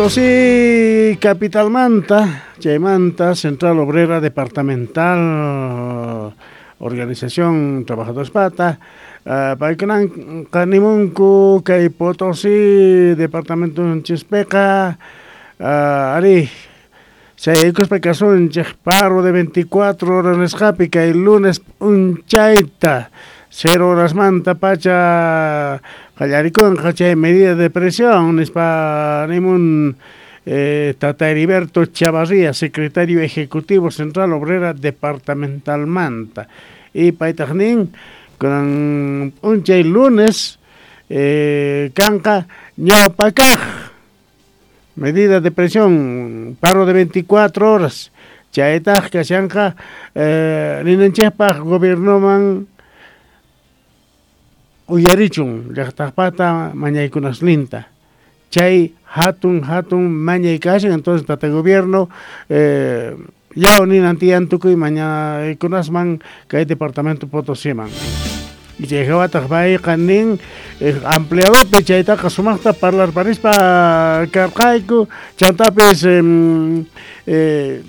Potosí capitalmanta, chaymanta Central Obrera Departamental, Organización Trabajadores Pata, paykunan qanimunku kay Potosí departamentonchispiqa, ari chayaykuspa kasunchik paro de 24 horas nisqapi kay lunes p'unchayta 0 horasmanta pacha qallarikunqa chay medida de presión nispa nimun Tata Heriberto Chavarría, secretario ejecutivo Central Obrera Departamentalmanta. Y paytaq nin kunan p'unchay lunes kanqa ñawpakaq medida de presión, paro de 24 horas. Chaytaq kashanqa ninanchikpaq gobiernoman uyarichun llaqtaqpata mañaykunasninta. Chay hatun hatun mañay kashan, entonces tata gobierno yaw ninan tiyan tukuy mañaykunasman kay departamento Potosíman. Y chay hawataq payqa nin ampliadopi chaytaqa sumaqta parlarparispa karqayku, chantapis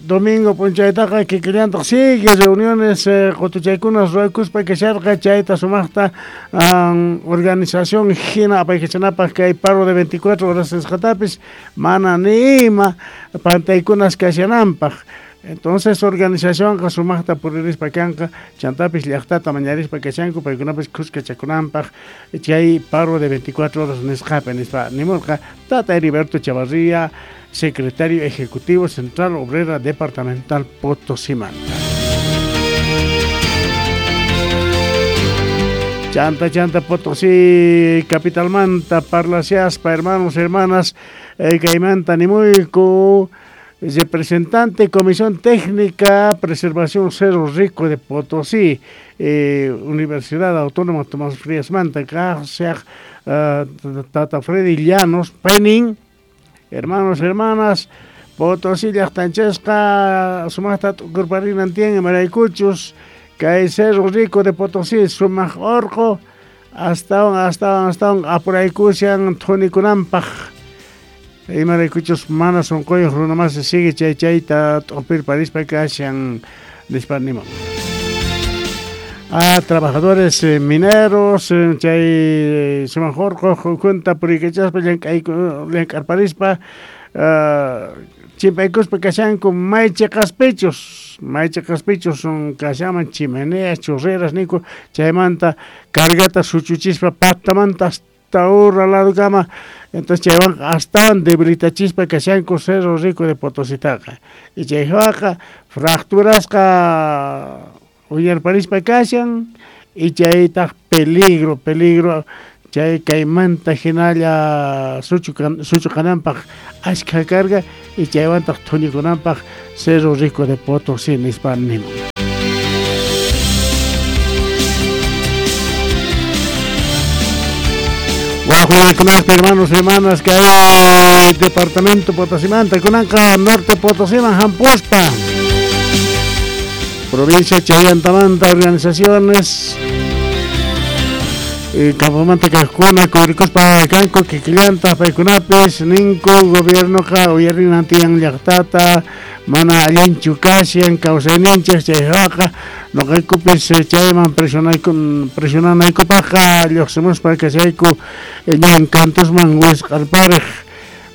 domingo p'unchaytaqa kikillantaq sigue reuniones qutuchaykunas ruwakuspa kasharqa chayta sumaqta organización hina apaykachanapaq kay paro de 24 horas nisqatapis mana ni ima pantaykunas kashananpaq. Entonces organizacionqa sumaqta puririspa kanqa, chantapis llaqtata mañarispa kashanku paykunapis khuskachakunanpaq chay paro de 24 horas nisqapi nispa nimurqa Tata Heriberto Chavarría, secretario ejecutivo Central Obrera Departamental Potosímanta. Chanta chanta Potosí capitalmanta parlasiaspa hermanos hermanas kaymanta nimuyku representante Comisión Técnica Preservación Cerro Rico de Potosí, Universidad Autónoma Tomás Frías Manta, Tata Freddy Llanos, Penin, hermanos, hermanas, Potosí llaqtanchasqa sumaqta t'ukurparinan tiyan imaraykuchus kay Cerro Rico de Potosí sumaq orqo astawan astawan astawan apuraykushan thunikunanpaq. Imaraykuchus mana sunquyuq runamasi sigue chay chayta t'upirparispa kashan nispa nimun. A trabajadores mineros chay sumaq orqo ukhunta puriykachaspa llank'arparispa chimpaykuspa kashanku may chiqaspichus kashanman chimeneas, churreras ninku chaymanta cargata suchuchispa patamanta hasta ura ladukama. Entonces chaywanqa astawan debilitachispa kashanku Cerro Rico de Potositaqa. Y chaywanqa fracturasqa uyarparispa kashan y chaytaq peligro peligro chay kaymanta hinalla suchu kananpaq ashkha carga y chaywantaq thunikunanpaq Cerro Rico de Potosí nispa nimun. Wajuykunaspa hermanos hermanas que hay departamento Potosimanta kunanqa norte Potosiman hampuspa provincia Chayantamanta organizaciones campomanta kaqkuna kuyrikuspa kanku kikillantaq paykunapis ninku gobiernoqa uyarinan tiyan llaqtata mana allinchu kashan kawsayninchik chayqa nuqaykupis chayman presionanaykupaqqa lluqsimuspa kashayku ñan kantusman wisq'arpariq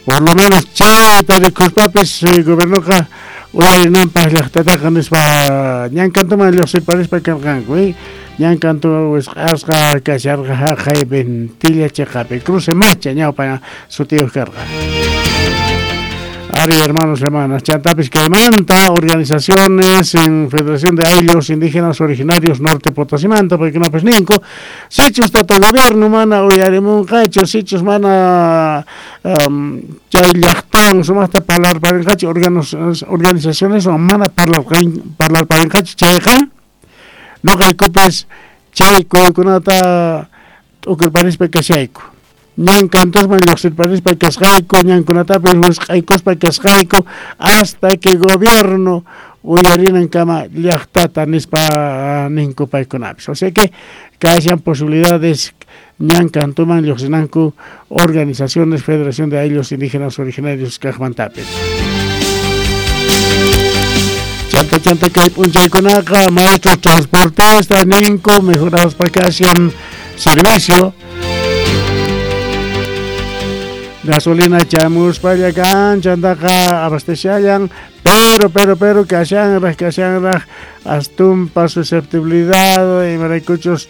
por lo menos chayta rikuspapis gobiernoqa uyarinanpaq llaqtataqa nispa ñan kantuman lluqsirparispa karqanku ñan kantu wisq'asqa kasharqa haqay Ventilla chiqapi cruce macha ñawpa sutiyuq karqa. Ari, hermanos, hermanas, chantapis kaymanta organizaciones en Federación de Ayllus Indígenas Originarios Norte Potosimanta, paykunapis ninku sichus tata gobierno mana uyarimunqachu, sichus mana chay llaqtawan sumaqta parlarparinqachu organizaciones mana parlarparinqachu chayqa nuqaykupis chay kuykunata t'ukurparispa kashayku. Ñan kantusman lluqsirparispa kasqayku, ñankunatapis wisq'aykuspa kasqayku hasta que gobierno uyarinankama llaqtata nispa ninku paykunapis. O sea que kashan posibilidades ñan kantuman lluqsinanku organizaciones Federación de Ayllus Indígenas Originarios kaqmantapis. Chanta chanta kay p'unchaykunaqa maestros transportista ninku mejoraspa kashan servicio gasolina chamuspalla kan chantaqa abastechallan pero kashanraq astumpa susceptibilidad imaraykuchus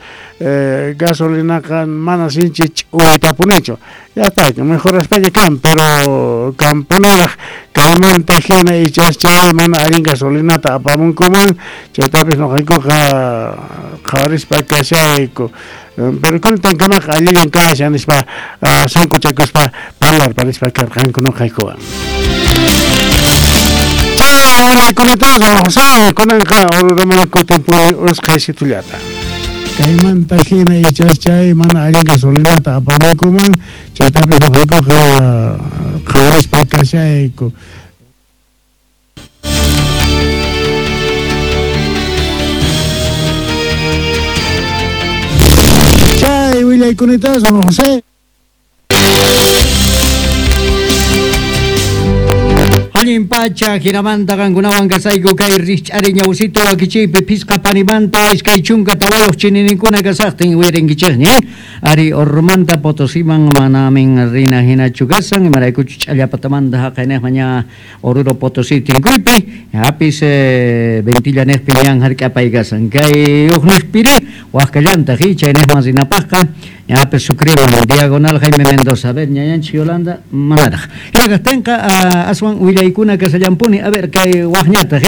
gasolinaqa mana sinchi ch'uwaytapunichu ya está mejoraspaña kan pero kampunaraq kaymanta hina ichas chay mana allin gasolinata apamunkuman chaytapis nuqaykuqa qhawarispa kashayku pero kuntankamaqa allillan kashan nispa sunquchakuspa parlarparispa karqanku nuqaykuwan. Chay kunanqa Oruroman kutinpuni usqhaysitullata. Kaymanta hina ichas chay mana allin gasolinata apamunkuman chaytapis nuqaykuqa qhawarispa kashayku. Chay willaykunitaqa José. Allin pacha hinamanta qankunawan kasayku kay rikch'ari ñawsito wakichiypi phisqa panimanta iskay chunka tawayuq chinininkuna kasaqtin wirinkichikña ari Orurumanta Potosiman manamin rina hinachu kasan imaraykuchu ch'allapatamanta haqayniqman ña Oruro Potosí tinkuypi hapis Ventilla niqpi ñan hark'apay kasan kay uqniqpiri waqkallantaq chayniqman rinapaqqa ñapis Sucreman diagonal Jaime Mendoza. A ver, ñañanchik Yolanda manaraq hina kaqtinqa aswan willaykuna kasallampuni a ver kay waqñataq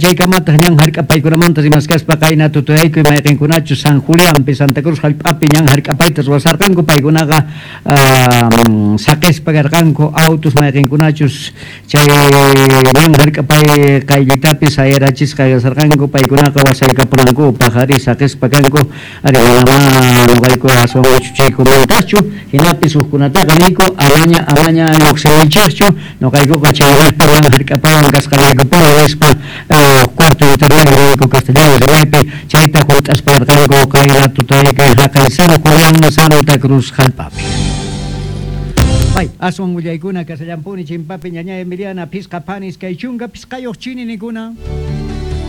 chaykamataq ñan hark'apaykunamanta rimaskaspa qayna tutayayku mayqinkunachu San Julianpi Santa Cruz hallp'api ñan hark'apayta ruwasarqanku paykunaqa saqispa karqanku autos mayqinkunachus chay ñan hark'apay qayllitapi sayarachisqa kasarqanku paykunaqa wasaykapunankupaq ari saqispa kanku ari manamá nuqayku aswan chaykumantachu hinapis hukkunataqa niyku amaña lluqsinaychikchu nuqaykuqa chaynaqpi ñan hark'apaywan kasqanaykupuni nispa cuarto intermedio castellano rimaypi chayta hunt'aspa karqanku qayna tutayqa haqay San Julián Santa Cruz hallp'api. Ay, aswan willaykuna kasallampuni chimpapi ñaña Emiliana phisqa panis kay chunka phisqayuq chininikuna.